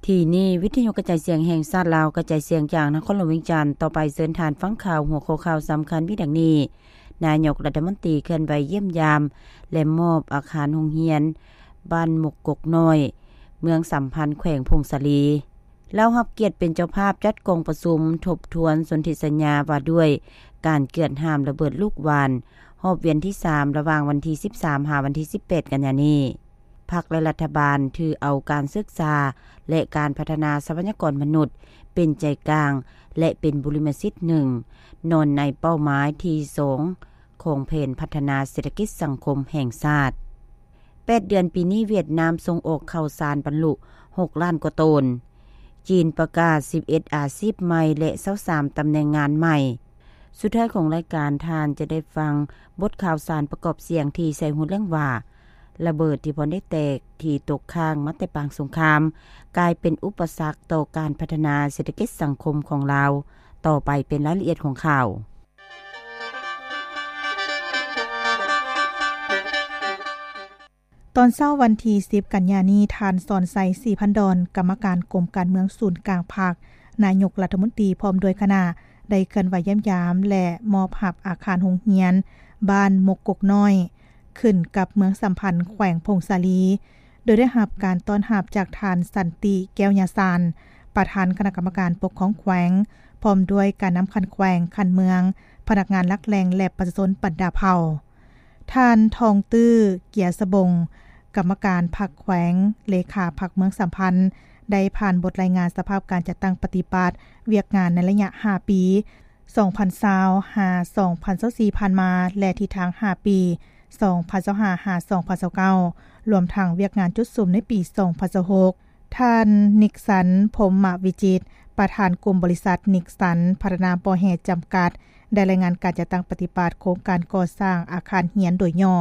ທີ່ນີ້ ວິທະຍຸກະຈາຍສຽງແຫ່ງຊາດລາວ ກະຈາຍສຽງຈາກນະຄອນຫຼວງວຽງຈັນ. ຕໍ່ໄປເຊີນທ່ານຟັງຂ່າວ ຫົວຂໍ້ຂ່າວສຳຄັນມີດັ່ງນີ້: ນາຍົກລັດຖະມົນຕີເຄື່ອນໄຫວຢ້ຽມຢາມ ແລະ ມອບອາຄານໂຮງຮຽນ ບ້ານມົກກົກນ້ອຍ ເມືອງສຳພັນ ແຂວງຜົ້ງສາລີ. ລາວຮັບກຽດເປັນເຈົ້າພາບຈັດກອງປະຊຸມທົບທວນສົນທິສັນຍາວ່າດ້ວຍການເກືອດຫ້າມລະເບີດລູກຫວ່ານ ຮອບວຽນທີສາມ ລະຫວ່າງວັນທີສິບສາມ ຫາວັນທີສິບແປດ ກັນຍານີ້. ພັກ ແລະ ລັດຖະບານຖືເອົາການສຶກສາ ແລະ ການພັດທະນາຊັບພະຍາກອນມະນຸດເປັນໃຈກາງ ແລະ ເປັນບຸລິມະສິດໜຶ່ງ ນອນໃນເປົ້າໝາຍທີສອງ ຂອງແຜນພັດທະນາເສດຖະກິດສັງຄົມແຫ່ງຊາດ. ແປດເດືອນປີນີ້ ຫວຽດນາມສົ່ງອອກເຂົ້າສານບັນລຸຫົກລ້ານກວ່າໂຕນ. ຈີນປະກາດສິບເອັດອາຊີບໃໝ່ ແລະ ຊາວສາມຕຳແໜ່ງງານໃໝ່. ສຸດທ້າຍຂອງລາຍການ, ທ່ານຈະໄດ້ຟັງບົດຂ່າວສານປະກອບສຽງທີ່ໃສ່ຫົວເລື່ອງວ່າ ລະເບີດທີ່ບໍ່ໄດ້ແຕກ ທີ່ຕົກຄ້າງມາແຕ່ປາງສົງຄາມ ກາຍເປັນອຸປະສັກຕໍ່ການພັດທະນາເສດຖະກິດສັງຄົມຂອງລາວ. ຕໍ່ໄປເປັນລາຍລະອຽດຂອງຂ່າວ. ຕອນເຊົ້າວັນທີສິບ ກັນຍານີ້, ທ່ານ ສອນໄຊ ສີພັນດອນ ກຳມະການກົມການເມືອງສູນກາງພັກ, ນາຍົກລັດຖະມົນຕີ ພ້ອມດ້ວຍຄະນະ ໄດ້ເຄື່ອນໄຫວຢ້ຽມຢາມ ແລະ ມອບຮັບອາຄານໂຮງຮຽນບ້ານມົກກົກນ້ອຍ ຂຶ້ນກັບເມືອງສຳພັນ ແຂວງຜົ້ງສາລີ, ໂດຍໄດ້ຮັບການຕ້ອນຮັບຈາກທ່ານ ສັນຕິ ແກ້ວຍາຊານ ປະທານຄະນະກຳມະການປົກຄອງແຂວງ, ພ້ອມດ້ວຍການນຳຂັ້ນແຂວງ, ຂັ້ນເມືອງ, ພະນັກງານຫຼັກແຫຼ່ງ ແລະ ປະຊາຊົນບັນດາເຜົ່າ. ທ່ານ ທອງຕື້ ເກຍສະບົງ ກຳມະການພັກແຂວງ, ເລຂາພັກເມືອງສຳພັນ ໄດ້ຜ່ານບົດລາຍງານສະພາບການຈັດຕັ້ງປະຕິບັດວຽກງານໃນໄລຍະຫ້າປີ ສອງພັນຊາວ ຫາ ສອງພັນຊາວສີ່ ຜ່ານມາ ແລະ ທິດທາງຫ້າປີ ສອງພັນຊາວຫ້າ ຫາ ສອງພັນຊາວເກົ້າ ລວມທັງວຽກງານຈຸດສຸມໃນປີ ສອງພັນຊາວຫົກ. ທ່ານ ນິກສັນ ພົມມະວິຈິດ ປະທານກຸ່ມບໍລິສັດ ນິກສັນ ພັດທະນາບໍ່ແຮ່ ຈຳກັດ ໄດ້ລາຍງານການຈັດຕັ້ງປະຕິບັດໂຄງການກໍ່ສ້າງອາຄານຮຽນໂດຍຫຍໍ້.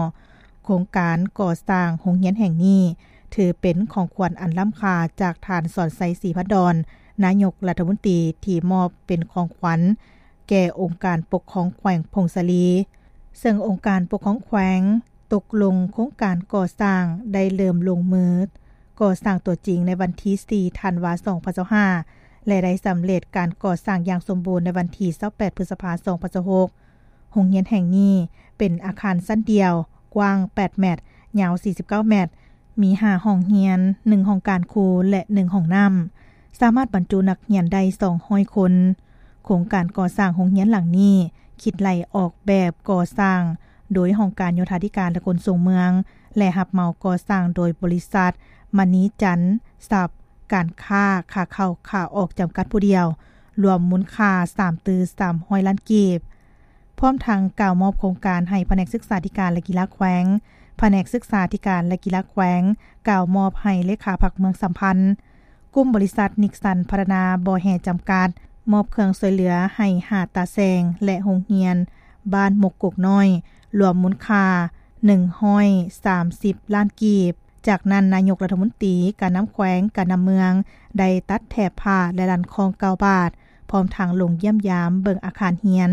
ໂຄງການກໍ່ສ້າງໂຮງຮຽນແຫ່ງນີ້ ຖືເປັນຂອງຂວັນອັນລ້ຳຄ່າຈາກທ່ານ ສອນໄຊ ສີພັນດອນ ນາຍົກລັດຖະມົນຕີ ທີ່ມອບເປັນຂອງຂວັນແກ່ອົງການປົກຄອງແຂວງຜົ້ງສາລີ, ເຊິ່ງອົງການປົກຄອງແຂວງຕົກລົງໂຄງການກໍ່ສ້າງ ໄດ້ເລີ່ມລົງມືກໍ່ສ້າງຕົວຈິງໃນວັນທີສີ່ ທັນວາ ສອງພັນຊາວຫ້າ ແລະ ໄດ້ສຳເລັດການກໍ່ສ້າງຢ່າງສົມບູນໃນວັນທີຊາວແປດ ພຶດສະພາ ສອງພັນຊາວຫົກ. ໂຮງຮຽນແຫ່ງນີ້ເປັນອາຄານຊັ້ນດຽວ, ກວ້າງແປດແມັດ, ຍາວສີ່ສິບເກົ້າແມັດ, ມີຫ້າຫ້ອງຮຽນ, ໜຶ່ງຫ້ອງການຄູ ແລະ ໜຶ່ງຫ້ອງນ້ຳ, ສາມາດບັນຈຸນັກຮຽນໄດ້ສອງຮ້ອຍຄົນ. ໂຄງການກໍ່ສ້າງໂຮງຮຽນຫຼັງນີ້ ຄິດໄລ່ອອກແບບກໍ່ສ້າງໂດຍຫ້ອງການໂຍທາທິການ ແລະ ຂົນສົ່ງເມືອງ ແລະ ຮັບເໝົາກໍ່ສ້າງໂດຍບໍລິສັດ ມະນີຈັນຊັບ ການຄ້າຂາເຂົ້າຂາອອກ ຈຳກັດຜູ້ດຽວ, ລວມມູນຄ່າສາມຕື້ສາມຮ້ອຍລ້ານກີບ. ພ້ອມທັງກ່າວມອບໂຄງການໃຫ້ພະແນກສຶກສາທິການ ແລະ ກິລາແຂວງ, ພະແນກສຶກສາທິການ ແລະ ກິລາແຂວງ ກ່າວມອບໃຫ້ເລຂາພັກເມືອງສຳພັນ. ກຸ່ມບໍລິສັດ ນິກສັນ ພັດທະນາບໍ່ແຮ່ ຈຳກັດ ມອບເຄື່ອງຊ່ວຍເຫຼືອໃຫ້ຫ້າຕາແສງ ແລະ ໂຮງຮຽນບ້ານມົກກົກນ້ອຍ ລວມມູນຄ່າໜຶ່ງຮ້ອຍສາມສິບລ້ານກີບ. ຈາກນັ້ນ, ນາຍົກລັດຖະມົນຕີ, ການນຳແຂວງ, ການນຳເມືອງ ໄດ້ຕັດແຖບຜ້າ ແລະ ລັນຄ້ອງເກົ້າບາດ, ພ້ອມທັງລົງຢ້ຽມຢາມເບິ່ງອາຄານຮຽນ